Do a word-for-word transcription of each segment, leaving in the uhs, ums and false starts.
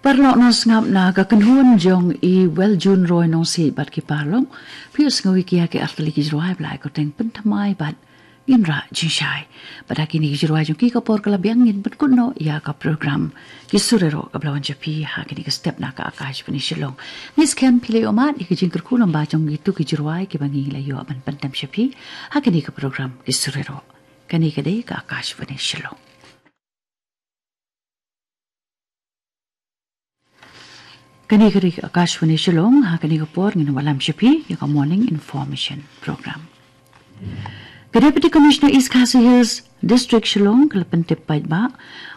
Paralok nongsngap, na ka kynhun jong i Weljun Roy Nongsiej bad ki paralok, phi ïohsngew ïa ki artylli ki jingrwai ba la ai kyrteng Pynthymmai bad Ngin Rah Jingshai. Bad ha kine ki jingrwai jong ki, ka por ka la biang, ngin pynkut noh ïa ka program Ki Sur Ïaroh kaba la wan sha phi ha kane ka step na ka Akashvani Shillong. Ngi skhem phi la ïohmad ïa ki jingkyrkhu lyngba jong kito ki jingrwai kiba ngi la ïoh ban pyndem sha phi ha kane ka program Ki Sur Ïaroh. Kane ka dei ka Akashvani Shillong. Kane ka dei ka Akashvani Shillong, ha kane ka por ngin wallam sha phi ïa ka Morning Information Program. Ka Deputy Commissioner East Khasi Hills District Shillong ka la pyntip paidbah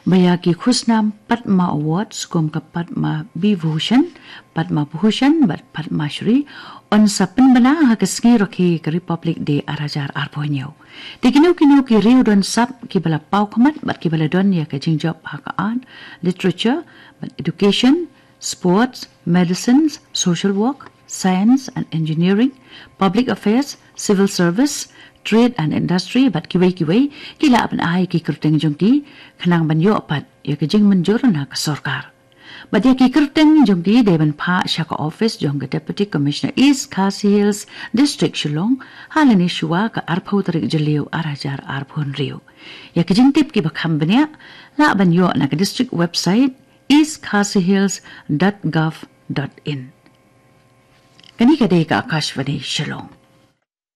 ba ïa ki khusnam Padma Awards kum ka Padma Vibhushan, Padma Bhushan bad Padma Shri yn sa pynbna ha ka sngi rakhe ka Republic Day ar hajar arphew hynñiew. Te kino kino ki riew don sap kiba la paw khmat bad kiba la don ïa ka jingjop ha ka art, literature bad education, sports, medicines, social work, science and engineering, public affairs, civil service, trade and industry bad kiwei kiwei, ki lah ban ai ki kyrteng jong ki khnang ban ïoh pat ïa ka jingmynjur na ka sorkar. Bad ïa ki kyrteng jong ki dei ban phah sha ka office jong ka Deputy Commissioner East Khasi Hills District Shillong ha lane shuwa ka arphew tarik Jylliew ar hajar arphew hynriew. Ïa ki jingtip kiba kham bniah lah ban ïoh na ka district website east khasi hills dot gov dot in. Kane ka dei ka Akashvani Shillong.